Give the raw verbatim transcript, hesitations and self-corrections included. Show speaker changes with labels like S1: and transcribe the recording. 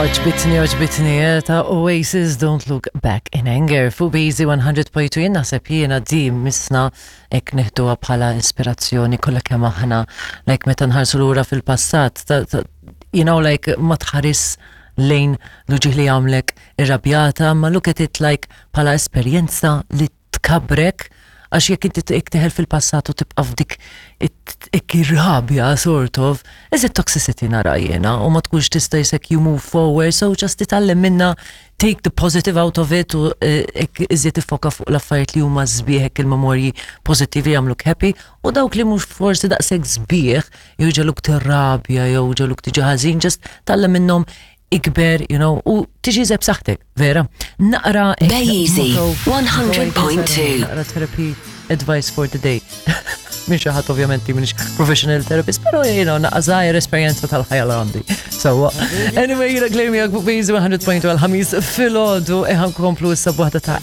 S1: Għoġbitni, għoġbitni, eh, ta' Oasis Don't Look Back in Anger. Fuq B-Easy one hundred point two jien naħseb jiena di misna hekk neħduha bħala ispirazzjoni kollha kemm aħna, like, meta nħarsu lura fil-passat, ta- ta- you know, like, ma tħares lejn l-uġigħ li għamlek irrabjata, ma look at it like bħala esperjenza li tkabrek, għax jekk inti teħel fil-passat u tibqa' f'dik ir-rabja, sort of, is it toxicity nara jiena, u ma tkunx tista' jisek you move forward, so just titgħallem minna, take the positive out of it u eh, hekk iżjed tiffoka fuq l-affarijiet li huma sbieħ, hekk il-memorji pożittivi jagħmluk happy, u dawk li mhux forsi daqshekk sbieħ jew ġegħluk tirrabja jew ġegħluk tiġi ħażin, just tgħallem minnhom, ikber, you know, u tiġi zeb saħtek, vera. Naqra
S2: B-Easy, one hundred point two.
S1: Naqra therapy advice for the day. Minn xi ħadd, ovvjament minix professional therapist, pero you know, naqra żgħir esperjenza tal-ħajja li għandi. So, anyway, jiena Claire miegħek fuq B-Easy one hundred point two għal-Ħamis filgħodu, eħan komplu issa b'waħda ta'